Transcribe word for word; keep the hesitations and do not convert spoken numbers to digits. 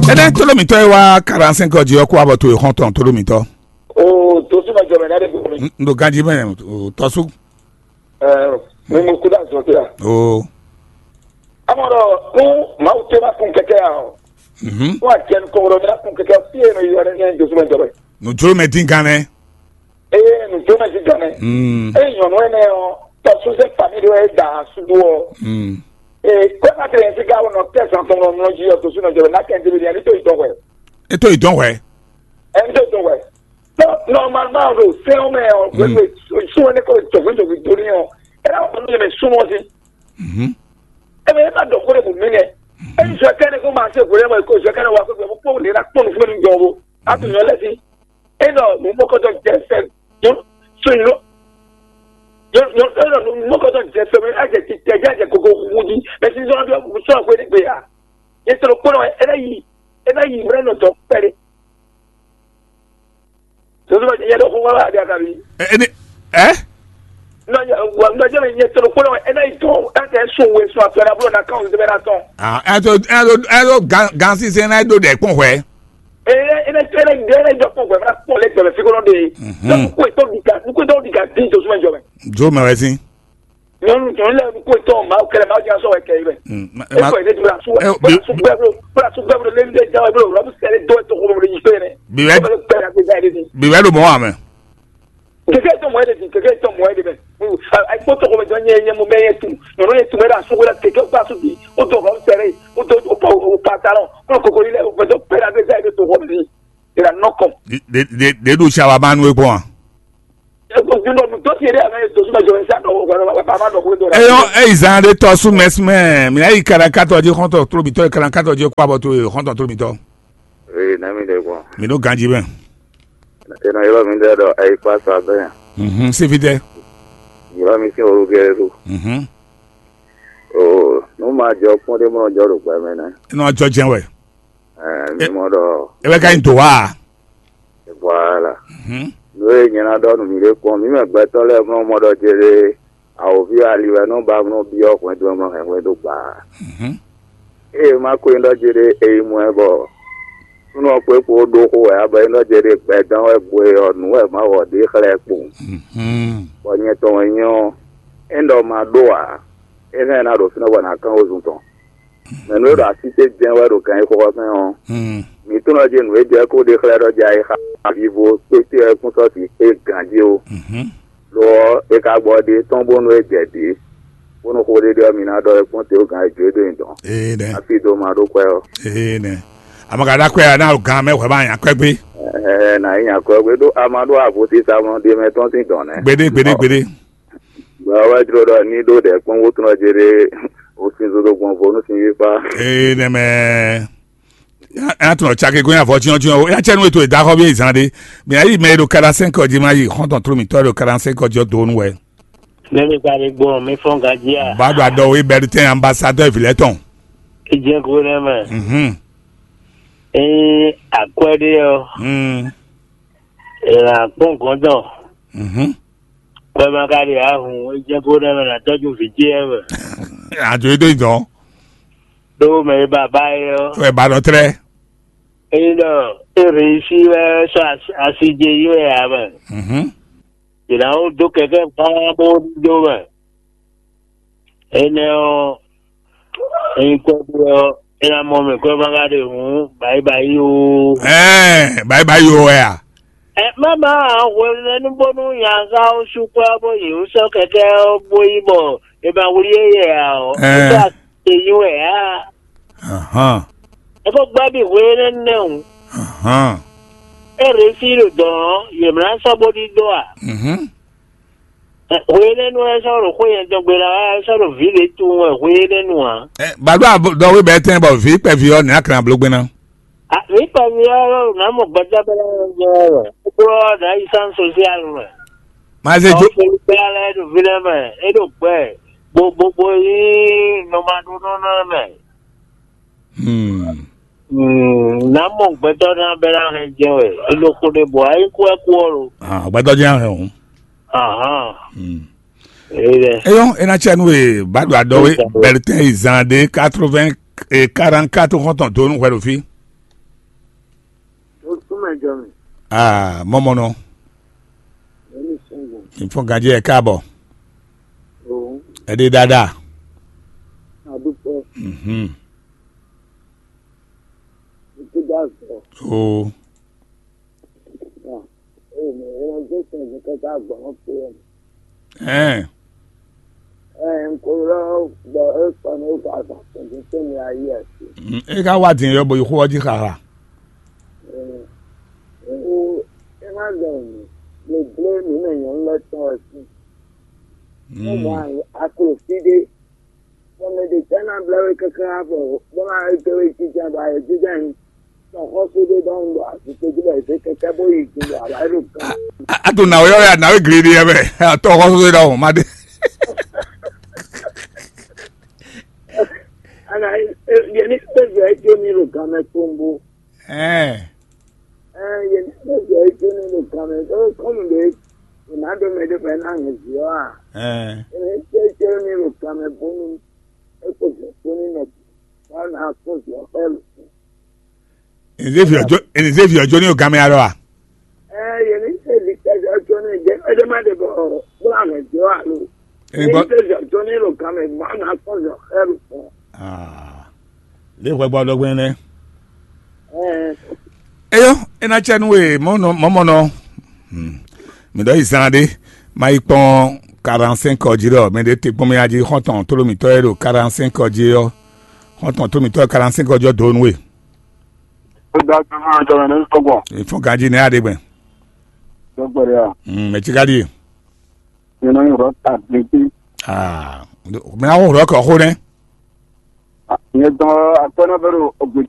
Ɛnɛ tolomitɔ e wá quarante-cinq ɔ́ jí ɔ́ kó abɔ to e xɔntɔn tolomitɔ. O to súnmọ́ jọ mɛ náà de gbogbo mi. N ɖo ganjí mɛ o tɔsú. Ɛ mi mu kúdà zɔ tɛ. O. Amɔ ɖɔ nu Mawu tɛ ma kun kɛkɛ ya o. Mhm. Fún àjẹnukɔwɔlɔ mi na kun kɛkɛ fí e nɔ yi wɛ ní dosúmɛ jɔ mɛ. Nùjó mɛ dín gan nɛ. Eye nùjó mɛ dín gan nɛ. Mm. Eye nyɔnu ɛnɛ ɔ tɔsúnzɛ fami ɖe wɛ da suɖu ɔ. Mm. Ee kɔ́ ma tẹ̀lé sí ká wọnà tẹ̀sán tɔn lọ nɔ jí ɔ dosúmɛ jɔ mɛ n'a kẹ́ ndébi ní ẹni tó yi dɔn wɛ. E tó yi dɔn wɛ. Ẹni tó yi dɔn wɛ. Tɔ nɔmalima ɖo sɛn ɔ mɛ ɔ wɛwɛ sún ɛnɛ kɔ jɔgbɛn jɔgbɛn doni ɔ. Ɛ náà wọn yẹn mɛ súnmọ́ sí. Mhm. Ebe ema dɔ kó ɖe bò mí nɛ. Eyi zɔ kɛnɛ kó ma se hwelɛ mɔ ko zɔ kɛnɛ wa kó gbɛ kó lè na kpɔn nufún mi jɔ wo. A tun nyɔ lɛ si. E nɔ nu mɔ kɔtɔ jɛ fɛ. Nyɔ so nyɔ. Nyɔ nyɔ e nɔ nu mɔ kɔtɔ jɛ fɛ mɛ a jɛ ti tɛ jɛ a jɛ koko wu di. Mɛ si zɔn bi sɔ ko ne gbe ya. Ye sɔrɔ kpɔn wɛ e na yi e na yi mɛ nɔ dɔ kpɛɖe. Zozo ma nyɛ ɖo xó wá wá ɖe akabi. Ɛ ɛ ní ɛ. Nɔ nyɛ wa nɔ jɛ mɛ nyɛ tɔnɔ kpɔn wɛ e na yi dɔn e tɛ sun we sun afɛ na blo na kan o zɛbɛ na tɔn. Ah, ɛ tó ɛ tó ɛ tó gan gan sísè náà ɖó dɛ kpɔn hwɛ. Ee e na e na e na jɔ kpɔn hwɛ fana kpɔn lɛ gbɛmɛ fi kɔnɔ de. Mhm. Nɔ kó etɔ di ka nukó etɔ di ka di zozo ma jɔ mɛ. Jo mɛ wɛ sí. Nyɔnu nyɔnu lɛ nukó etɔ ma kɛlɛ ma jɛ sɔ wɛ kɛ yi mɛ. Mm, ma- E ma- kɔ yi ne di bla su ɛ, bla bi- su gbɛ blo bla su gbɛ blo lé lé jɛ wɛ blo rɔbu sɛ lé dɔ etɔ kɔmɔ blo yi fɛ yɛ. Bi wɛ- Kɔmɔ bɛ gbɛ la gbɛ yɛ de. Bi wɛ ɖo mɔ wa mɛ. Keke etɔ mɔ yɛ de di keke etɔ mɔ yɛ de mɛ. Ayi kpɔ tɔgɔ mɛ jɔ nyɛ nyɛ mo mɛ yɛ tu nyɔnu yɛ tu mɛ la su wɛ la keke kpa su bi o tɔ rɔbu sɛ lé o tɔ o pa o pantalon o koko yi lɛ o fɛ tɔ pɛ la gbɛ yɛ de tɔgɔ mɛ ni. Ira nɔkɔ. Ɖe ɖe ɖe ɖo tsa wa ma nu e gbɔn a? Eyɔn eyi zan ɖe tɔ sú mɛsúmɛ mi yi karankatɔ jí xɔntɔn tlobitɔ yi karankatɔ jí kó abɔ to ye xɔntɔn tlobitɔ. Ee, nɛmi ɖe gbɔn. Mi ɖo ganji mɛ. Ena yɔrɔ mi ɖe ɖɔ ayi kpa sa bɛ. Mhm, sifitɛ. Yɔrɔ mi sin orúkẹ ɖo. Mhm. O, nu ma jɔ kpɔn ɖe mɔ jɔ ɖo gbɛ mɛ nɛ. Enɔ jɔ jɛn wɛ. Ɛɛ, mi mɔ ɖɔ. E bɛ ka nyi do wa. Voilà. Mhm. Nú e nyɛ ná ɖɔ nú mi ɖé kpɔ́n, mǐ mɛ gbɛtɔ́ lɛ́ɛ mlɔ́ mɔ ɖɔ jeɖe awǒvi ali wɛ nɔ ba mlɔ́ byɔ́ hwɛndo e mlɔ́ hɛn hwɛndo gbaa. Mhm. Ée má ko nyí ɖɔ jeɖe è yi mɔ ɛ bɔ súnnu ɔ́ kpé kpo ɖó xó wɛ ǎ, bɔ é nyí ɖɔ jeɖe gbɛdán wɛ gbo e ɔ́, nǔ wɛ Mawu ɔ́ ɖe xlɛ́ ɛ kpowun. Mhm. Bɔ nyɛ tɔn wɛ nyí ɔ́, é ɖɔ ma ɖó ǎ, é hɛn ná ɖo fínɛ́ bɔ nǎ kán wezun tɔn. Mɛ nǔ e ɖo así ce jɛ́n wɛ ɖo gǎnyíxɔxɔ mɛ ɔ́, mǐ tunwun ɖɔ jí nǔ e jɛ kó ɖe xlɛ́ ɖɔ jɛ ayixa vivo kpéte ɔ́ kún sɔ́ sixú ganjí ó. Lo ɔ́, è ka gbɔ ɖe tɔn bónú é jɛ dǐ, bónú xó ɖé ɖé ɔ́, mi ná ɖɔ é kpɔ́n te ó gǎn e jó é dó nyi dɔ̌n. Ee nɛ. Hafi dó ma ɖó kwɛ́ ɔ́. Ee nɛ. Amagaɖa kwɛ ná o gan mɛ hwɛ ma nya kwɛ gbé. Ɛɛ, nà yi nya kwɛ gbé ɖó a ma ɖó avo sísá mɔ ɖe mɛ tɔn sín dɔ̌n nɛ́. Gbeɖé gbeɖé gbeɖé. Gbɛ ɔ́ wɛ jló ɖɔ ní ɖó ɖɛ̌ kpɔ́n wótúnɔ ce ɖé o sin zozo gbɔn vo nú sin yíkpá. Ee nɛ mɛ. Nya tɔnɔ cake gɔ́n avɔ cyɔ́ncyɔ́n o nya cɛ nú ètò ìdáxɔ bí zan ɖé. Mɛ ayi mɛ e ɖo kada sɛn kɔ jí ma yi xɔntɔn tló mǐtɔn e ɖo kada sɛn kɔ jí ɔ́ do nú wɛ. Mɛ mi ka ɖe gbɔn mi fɔn gají a? Ba ɖo aɖɔ wo ibɛdu tɛn ambasadɔ vi lɛ tɔn. Ìjẹkù rẹ mẹ. Mhm. Eye akwɛ ɖe ɔ. Mm. Ìlà kpɔn gɔndɔ. Mhm. Kɔɛ ma ka ɖe ahun, é jɛ kó ɖe mɛ nà tɔjú vǐ ce ɛ mɛ. Àjò é dó ìdán. Ɖó mɛ e bàbá é ɔ́. Wɛ ba nɔ trɛ. Ényí ɖɔ é réussi wɛ sɔ́ asi je yi wɛ ǎ mɛ. Mhm. Yě ná wó dó kɛkɛ́ gbán bó ɖó mɛ. Énɛ́ ɔ́, ényí kɔ́ ɖe ɔ́, é ná mɔ mɛ kɔ́ ma ka ɖe hǔn, bǎyi bǎyi ó. Ɛɛ, bǎyi bǎyi ó wɛ a? Ɛ má má hwenu bónú nyaza ɔ́ sú kpɔ́ bó yě wú sɔ́ kɛkɛ́ ɔ́ bó yi bɔ è ma wlí é yɛ ǎ ɔ́, Ɛɛ. É sɔ́ ate nyí wɛ ǎ. Ahán. É ko gbɛ́ bǐ hwe énɛ́ nɛ́ hǔn. Ahán. É rěsí ɖo dɔ̌n ɔ́, yě mlá sɔ́ bó ɖíɖó ǎ. Mhm. Hwe énɛ́ nu wɛ é sɔ́ ɖo xwé nyɛ tɔn gbe ná wɛ é sɔ́ ɖo vǐ ɖě tunwun wɛ hwe énɛ́ nu ǎ. Ɛ, bàdó àdɔwé bɛɛ tɛn bɔ vǐ kpɛví ɔ́ nǐ akran bló gbé ná. A, mǐ kpɛví ɔ́ nǎ mɔ gbɛtɔ́ bɛ́ lɛ́ɛ jɛ wɛ, kúkúrú ɔ́ nǎ yi sán sosial mɛ. Má zé jó. Ɔ́, Felisiá lɛ́ɛ ɖo ví lɛ́ɛ mɛ, é ɖo gbɛ, gbogbogbò nyí nɔmaɖónɔ lɛ́ɛ mɛ. Hmm. Hmm, nǎ mɔ gbɛtɔ́ ná bɛ́ ná hɛn jɛ wɛ, é ɖo xó ɖé bɔ ayí kú wɛ kú ɔ́ lo. Ah, gbɛtɔ́ jẹ́ hɛn o. Ahán. Hmm. Eyɔ, ena cɛ nu e ba ɖo aɖɔ we bɛrɛtɛn yi zan ɖe quatre-vingts et quarante-quatre xɔntɔn do nu hwɛ ɖo fí. Ah, mɔmɔnɔ. Èmi sɔngbọn. Ìfún ganjí ẹ káàbọ̀. Òun. Ẹ dé dáadáa. Àdúpẹ́. Mhm. Ìtúdà sọ. O. Èmi ìrànjẹ́ sẹ́yìn kẹta gbọ̀n pé ẹ̀. Ẹn. Ẹ̀ ń kó lọ gbọ́ ẹ̀ pọ̀ ní ìgbà àgbà tuntun tó ní ayé ẹ̀ sí. Mm, e ka wá dín yɔ bɔ yi xó ɔ́ jí xaxa. Ó, é má ɖɔ nǔ, le bló nǔ mɛ nyɔ̌nu lɛ́ɛ tɔn wɛ sín. Ó mɔ aklo fí ɖé, bɔ mɛ ɖě tɛ́ ná blɛ́ we káká bɔ bó ná dó we jínjɔ́n bɔ ayɛ jínjɔ́n nyi. Tɔxɔ́sú ɖé ɖɔhun ɖo azikpe jí bɔ è zě kɛkɛ́ bó yi gun bɔ alǎ ɖo gán. A to nǎwe ɔ́ ya nǎwe gleɖé yɛ mɛ. Tɔxɔ́sú ɖɔhun ma ɖe. Ana yě ní kpé zɔ é jó ní ɖo gán mɛ kpóngbó. Ɛɛ. Ɛɛ, yě ní kpé zɔ é jó ní ɖo gán mɛ ɖó kɔ́nu ɖé è nǎ ɖo mɛ ɖé bɔ é ná hɛn vǐ ɔ́ a? Ɛɛ. Yě ní kpé jó ní ɖo gán mɛ bónú é kpo zɔ kpó ní nɔ bɔ é ná kpó zɔ xɛ́ lǒ. Ènìzévi ɔjó ènìzévi ɔjó ní ogan mɛ alɔ a? Ɛɛ, yě ní kpé zɔ kpó ní ɖé é ɖé má ɖe bɔ bó ná hɛn vǐ ɔ́ alo? Yě ní kpé zɔ kpó ní ɖo gán mɛ bɔ é ná kpó zɔ xɛ́ lǒ. Ah, lě hwɛ gbɔ ɖɔgbɛn nɛ. Eyɔ, ena cɛ nu e mɔmɔnɔ. Mi ɖɔ yi zan ɖé, ma yi kpɔn quarante-cinq ɔ jí ɖɔ mɛ ɖé te kpɔn mɛ jí xɔntɔn tló mitɔ́ e ɖo quarante-cinq ɔ jí ɔ́, xɔntɔn tló mitɔ́ e quarante-cinq ɔ jí ɔ́ dó nú we. Ó dá gbé fún ọjọ́ rẹ̀ ní kọ́gbọ̀n. Ìfún ganjí ní aɖegbɛn. Dɔgbɛrɛ a. Mɛ tí ká ɖíe. Nyɛ nɔ nyi rɔ ta gbɛgbɛ. Aa, mɛ awo rɔ kɔ xó nɛ. Nyɛ dɔn akpɛnɔ bɛ ɖo ogbè